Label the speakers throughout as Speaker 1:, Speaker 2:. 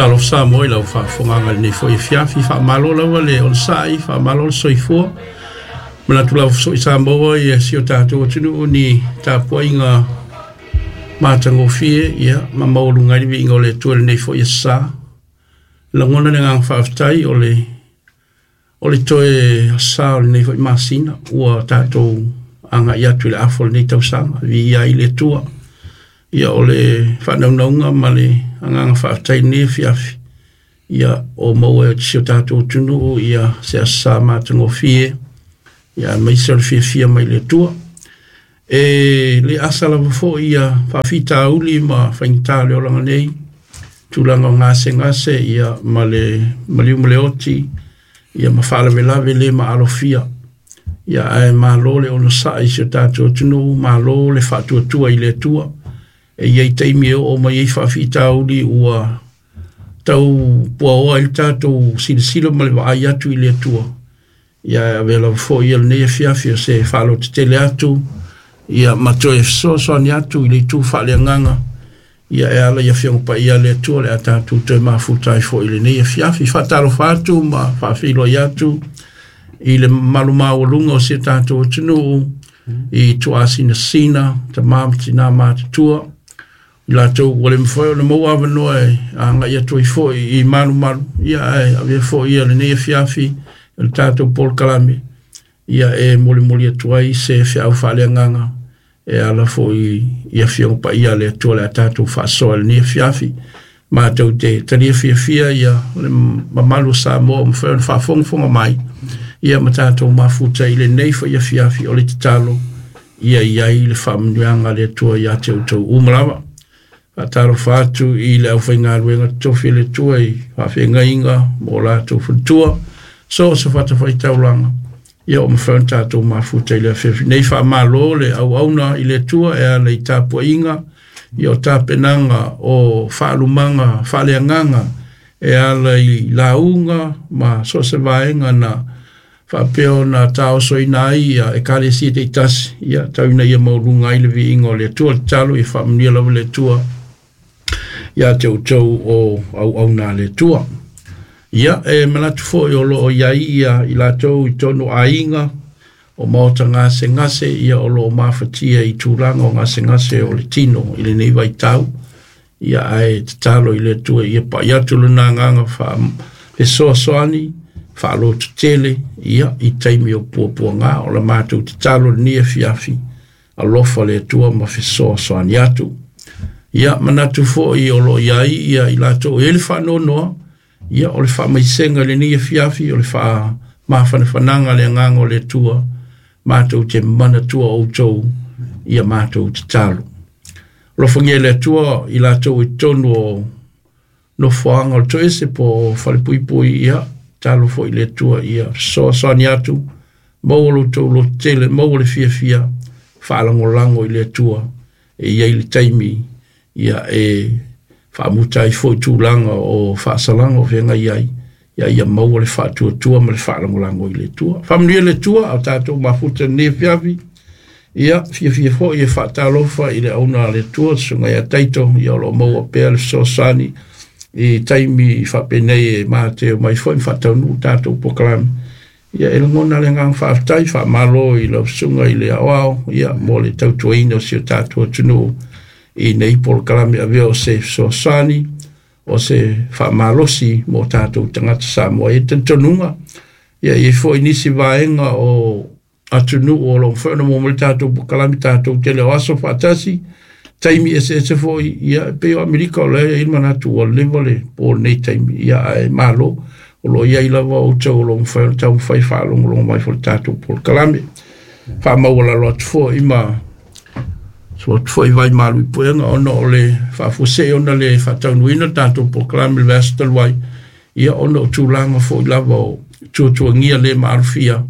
Speaker 1: Talofa Samoa i lau faafofogaaga i lenei foi afiafi. Faamalo lava le onosai, faamalo le soifua. Manatu lava foi Samoa ia si o tatou atunuu ni tapuaiga matagofie ia ma maualuga ai le viiga o le Atua i lenei foi aso sa. Lagona le agaga faafetai o le toe sa o lenei foi masina ua tatou agai atu i le afa o lenei tausaga, viia ai le Atua. Ia o le faanaunauga ma le agaga faafetai i lenei afiafi, ia o maua e si o tatou atunuu ia se aso sa matagofie, ia aemaise o le fiafia mai le Atua. E le asa lava foi ia faafitauli ma faigata o le olaga nei, tulaga o gasegase ia ma le maliu ma le oti, ia ma faalavelave le maalofia. Ia ae malo le onosai i si o tatou atunuu, malo le faatuatua i le Atua. E i ai taimi e oo mai ai faafitauli ua tau puaoa ai le tatou silasila ma le vaai atu i le Atua. Ia ae avea lava foi ia lenei afiafi o se faalotetele atu, ia ma toe fesoasoani atu i le itu faaleagaga, ia e ala i Afioga Paia a le Atua o le a tatou toe mafuta ai foi i lenei afiafi. Faatalofa atu ma faafeiloai atu i le mamalu maualuga o si o tatou atunuu i tuaasinasina, tama ma tina matutua, i latou ua le mafai ona maua avanoa e agai atu ai foi i malumalu, ia ae avea foi ia lenei afiafi o le tatou polokalame, ia e molimoli atu ai se feau faaleagaga e ala foi i Afioga Paia a le Atua o le a tatou faasoa i lenei afiafi. Matou te talia fiafia ia le mamalu o Samoa o mafai ona faafogafoga mai, ia ma tatou mafuta i lenei foi afiafi. O le tatalo ia i ai le faamanuiaga a le Atua ia te outou uma lava. Faatalofa atu i le aufaigaluega totofi a le Atua i faafeagaiga ma o latou faletua, so o se fatafaitaulaga, ia o mafai ona tatou mafuta i le afiafi nei. Faamalo le auauna i le Atua e ala i tapuaiga, ia o tapenaga o faalumaga faaleagaga e ala i lauga ma so o se vaega na faapea ona taosoina ai ia ekalesia taitasi, ia tau ina ia maualuga ai le viiga o le Atua. Tatalo ia faamanuia lava le Atua ia te outou o auauna a le Atua. Ia e manatu foi o loo i ai ia i latou i totonu o aiga o maota gasegase, ia o loo mafatia i tulaga o gasegase o le tino i lenei vaitau. Ia ae tatalo i le Atua ia pai atu lona agaga fesoasoani faalototele ia i taimi o puapuaga. O la matou tatalo i lenei afiafi, alofa le Atua ma fesoasoani atu. Ia manatu foi o loo i ai ia i latou e i ai le faanoanoa, ia o le faamaisega i lenei afiafi, o le faamafanafanaga le agaga o le Atua, matou te manatua outou ia matou tatalo. Alofagia e le Atua i latou i totonu o nofoaga o le toese po o falepuipui, ia tatalo foi i le Atua ia fesoasoani atu, maua lo outou lototele, maua le fiafia, faalagolago i le Atua e i ai le taimi ia e faamuta ai foi tulaga o faasalaga o feagai ai, ia ia maua le faatuatua ma le faalagolago i le Atua. Faamanuia le Atua a o tatou mafuta i lenei afiafi. Ia fiafia foi e faatalofa i le auna a le Atua, susuga ia Taito, ia o loo maua pea le fesoasoani i taimi faapenei e mateo mai foi ma faataunuu tatou polokalame. Ia e lagona le agaga faafetai, faamalo i lau susuga i le aoao, ia mo le tautuaina o si o tatou atunuu i nei polokalame avea o se fesoasoani, o se faamalosi mo tatou tagata Samoa. E talitonuga, ia e i ai foi nisi vaega o atunuu o lo o mafai ona maua mai le tatou polokalame, tatou tele o aso faatasi, taimi eseese foi, ia e pei o Amerika o lea e i ai le manatu ua leva le po lenei taimi, ia ae malo o lo o i ai lava outou o lo o mafai ona taumafai faalogologo mai foi le tatou polokalame. Faamaualalo atu foi ma sua atu foi vai malu i puega ona o le faafuasei ona le faataunuuina le tatou polokalame i le vaiaso talu ai, ia ona o tulaga foi lava o tuatuagia le maalofia,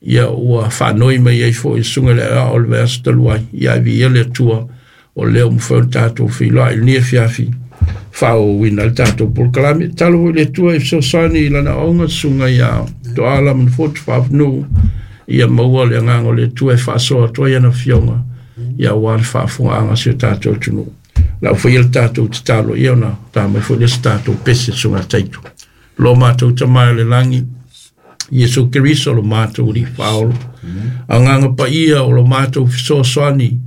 Speaker 1: ia ua faanoi mai ai foi le susuga i le aoao o le vaiaso talu ai, ia ae viia le Atua o lea ua mafai ona tatou feiloai i lenei afiafi faaauauina ai le tatou polokalame. Tatalo foi i le Atua e fesoasoani i lana auauna, susuga ia Toala Manufotu Faafanuu, ia maua le agaga o le Atua e faasoa atu ai ana afioga, ia aua le faafofogaaga a si o tatou atunuu. Le au faia le tatou tatalo, ia ona ta mai foi le se tatou pese susuga Taito. Lo matou Tama i le lagi, Iesu Keriso lo matou Alii Faaola. Agaga Paia o lo matou fesoasoani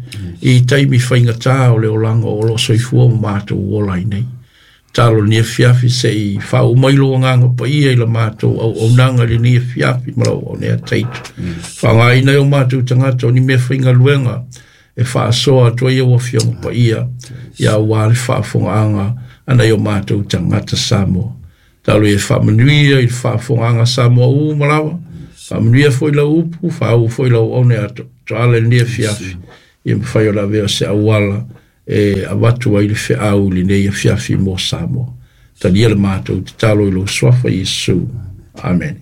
Speaker 1: i taimi faigata o le olaga o lo o soifua ma matou ola ai nei. Talo lenei afiafi se i faauu mai lou Agaga Paia i la matou auaunaga i lenei afiafi ma lau auauna Taito. Faaaogaina ai o matou tagata o ni mea faigaluega e faasoa atu ai au Afioga Paia ia aua le faafofogaaga a nai o matou tagata Samoa. Talo ia faamanuia i le faafofogaaga a Samoa uma lava, faamanuia foi lau upu, faauu foi lau auauna ia Toala i lenei afiafi, ia mafai ona avea o se auala e avatu ai le feau i lenei afiafi mo Samoa. Talia le matou tatalo i lou suafa Iesu. Amene.